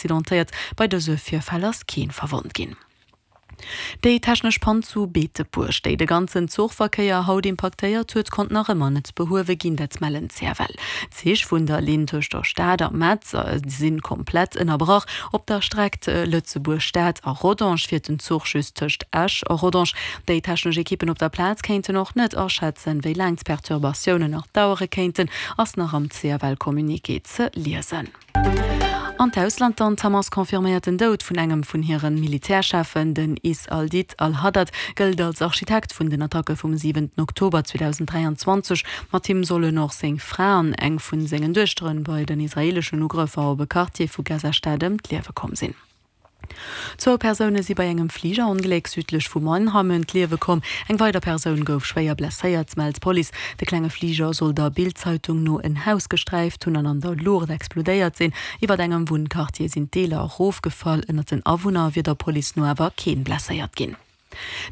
accidentéiert. Bei dëse Virfäll ass keen verwonnt ginn. Déi technesch Pann zu Beetebuerg, déi de ganzen Zuchverkéier haut impaktéiert huet, konnt nach ëmmer net behuewe ginn, dat mellen d'CFL. D'Zich vun der Linn tëscht der Stad a Metz si komplett ënnerbrach. Op der Streck Lëtzebuerg-Stad a Rodange fiert den Zuch just tëscht Esch a Rodange. Déi technesch Ekippen op der Plaz kéinten och net aschätzen, wéi laang d'Perturbatiounen nach dauere kéinten, ass nach am CFL-Communiqué ze liesen. An d'Ausland dann, D'Hamas confirméiert den Doud vun engem vun hire Militärcheffen. Den Is al-Did al-Haddad gëllt als Architekt vun den Attacke vum siwenten Oktober 2023. Mat him sollen och seng Fra an eng vun sengen Duechtere bei den israeeleschen Ugrëffer op e Quartier vu Gaza-Stad ëm d'Liewe komm sinn. Zwou Persoune si bei engem Fligerongléck südlech vu Mannheim ëm d'Liewe komm. Eng weider Persoun gouf schwéier blesséiert, mellt d'Police. De klenge Fliger soll der Bild-Zeitung no en Haus gesträift hunn an an der Luucht explodéiert sinn. Iwwer engem Wunnquartier sinn d'Deeler erofgefall. Ënnert den Awunner wier der Police no awer keen blesséiert ginn.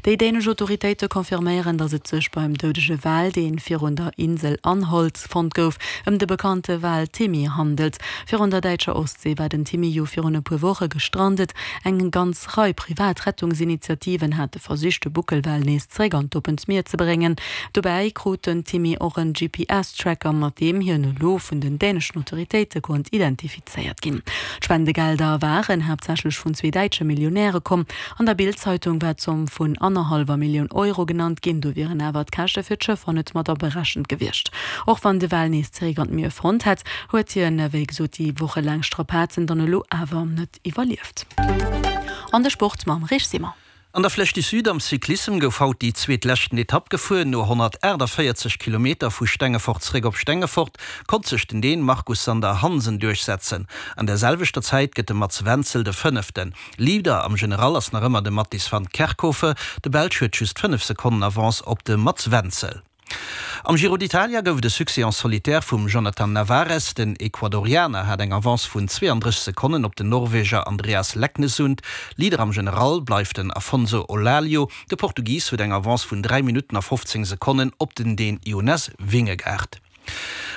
Déi dänesch Autoritéite confirméieren, datt et sech beim doudege Wal, dee virun der Insel Anholt fonnt gouf, ëm de bekannte Wal Timmy handelt. Virun der däitscher Ostsee war den Timmy jo virun e puer Woche gestrandet. Eng ganz Rei privat Rettungsinitiativen hate versicht, de Buckelwal nees zeréck an d'oppent Mier ze bréngen. Dobäi krut den Timmy och en GPS-Tracker, mat deem hien elo vun den däneschen Autoritéite konnt identifizéiert ginn. D'Spendegelder waren haaptsächlech vun zwee däitsche Millionäre komm. An der Bild-Zeitung war d'Zomm vun annerhallwer Millioun Euro genannt ginn, do wieren awer d'Käschte fir d'Schëffer net mat aberechent gewiescht. Och wann de Wal nees zeréck an d'Mier fonnt hätt, huet hien, wéi gesot, déi wochelaang Strapazen dann elo awer net iwwerlieft. An de Sport mam Rich Simon. An der Flèche du Sud am Cyclissem gouf haut déi zweetleschten Etapp gefuer. No 148 Kilometer vu Stengefort zeréck op Stengefort konnt sech den Dän Markus Sander Hansen duerchsetzen. An der selwechter Zäit gëtt de Mats Wenzel de Fënneften. Leader am General ass nach ëmmer de Mattis van Kerkhove. De Belsch huet just 5 Sekonnen Avance op de Mats Wenzel. Am Giro d'Italia gouf et e Succès en solitaire vum Jhonatan Narvaez. Den Ecuadorianer hat eng Avance vun 32 Sekonnen op den Norweger Andreas Leknessund. Leader am General bleift den Afonso Eulalio. De Portugis huet eng Avance vun 3 Minutten a 15 Sekonnen op den Dän Jonas Vingegaard.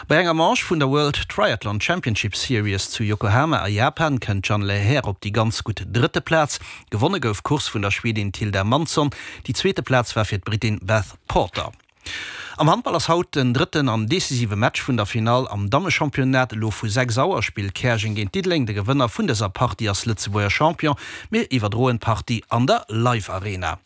Bei enger Manche vun der World Triathlon Championship Series zu Yokohama a Japan kënnt d'Jeanne Lehair op déi ganz gutt drëtte Plaz. Gewonne gouf d'Course vun der Schwedin Tilda Mansson, déi zweete Plaz war fir d'Brittin Beth Porter. Am Handball ass haut den drëtten an decisive Match vun der Finall am Dammechampionnat. Elo vu 6 Auer spillt Käerjeng géint Diddeleng. De Gewënner vun dëser Partie ass Lëtzebuerger Champion. Mir iwwerdroen d'Partie an der Live Arena.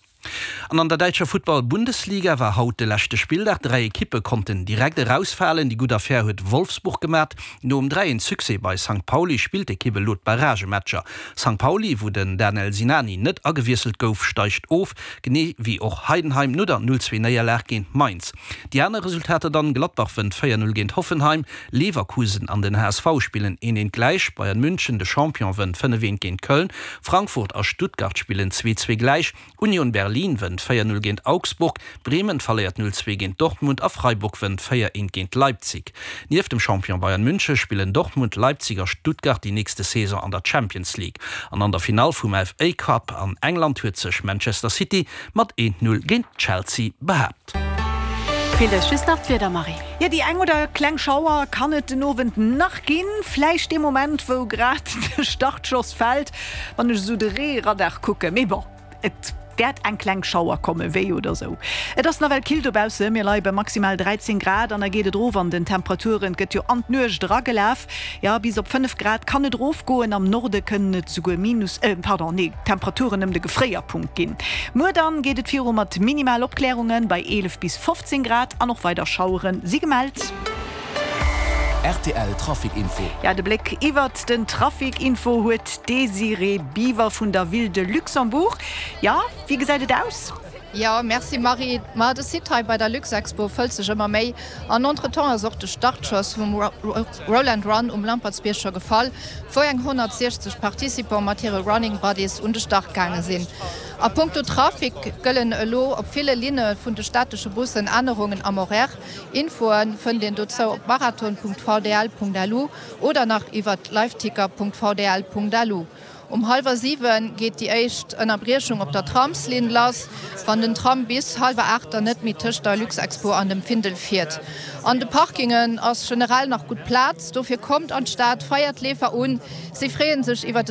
An an der däitscher Futtball-Bundesliga war haut de leschte Spilldag. 3 Ekippe konnten direkt erausfalen. Déi gutt Affär huet Wolfsburg gemat. Nom 3 een Succès bei Sankt Pauli spillt d'Ekipp elo d'Barragematcher. Sankt Pauli, wou den Danel Sinani net agewiesselt gouf, steigt of, genee wéi och Heidenheim no der 0 2 Néierlag géint Mainz. Déi aner Resultater dann, Gladbach wënnt 4 0 géint Hoffenheim, Leverkusen an den HSV spillen 1 1 gläich, Bayern München, de Champion, wënnt 5 1 géint Köln, Frankfurt a Stuttgart spillen 2 2 gläich, Union Berlin wënnt 4 0 géint Augsburg, Bremen verléiert 0 2 géint Dortmund a Freiburg wënnt 4 1 géint Leipzig. Nieft dem Champion Bayern München spillen Dortmund, Leipzig a Stuttgart déi nächste Saison an der Champions League. An an der Finall vum FA Cup an England huet sech Manchester City mat 1 0 géint Chelsea behaapt. Feelt eis just nach d'Wieder, Marie. Jo, déi eng oder kleng Schauer kann et den Owend nach ginn. Vläicht dee Moment, wou grad de Startschoss fält, wann ech esou de Reeradar kucken. Mee bon, et wäert eng kleng Schauer kommen, wéi oder sou. Et ass nawell kill dobausse, mir leie bei maximal 13 Grad an da geet et erof an den Temperaturen. Et gëtt jo an d'Nuecht eragelaf, jo bis op 5 Grad kann et erofgoen, am Norde kënnen et souguer Minus, pardon, nee, Temperaturen ëm de Gefréierpunkt ginn. Muer dann geet et viru mat minimal Opklärungen bei 11 bis 15 Grad an och weider Schauere si gemellt. Rtl Trafic Info. Ja, de Bléck iwwert den Trafic Info huet d'Désirée Biver vun der Ville de Luxembourg. Ja, wéi gesäit et aus? Jo, merci Marie. Ma de Site hei bei der Luxexpo fëllt sech ëmmer méi an entretemps ass och de Startschoss vum Roll and Run um Lampertsbierg scho gefall, wou eng 160 Participants mat hire Running Buddies un de Start gaange sinn. A punkto Trafic gëllen elo op ville Linne vun de städtesche Bussen Ännerungen am Horaire. Infoe fënnt een dozou op marathon.vdl.lu oder nach iwwert liveticker.vdl.lu. Um hallwer 7 geet déi éischt Ënnerbriechung op der Tramslinn lass, wann den Tram bis hallwer 8 dann net méi tëscht der Luxexpo an dem Findel fiert. An de Parkingen ass generell nach gutt Plaz, dofir kommt an d'Stad, feiert d'Leefer un, si freeë sech iwwer de.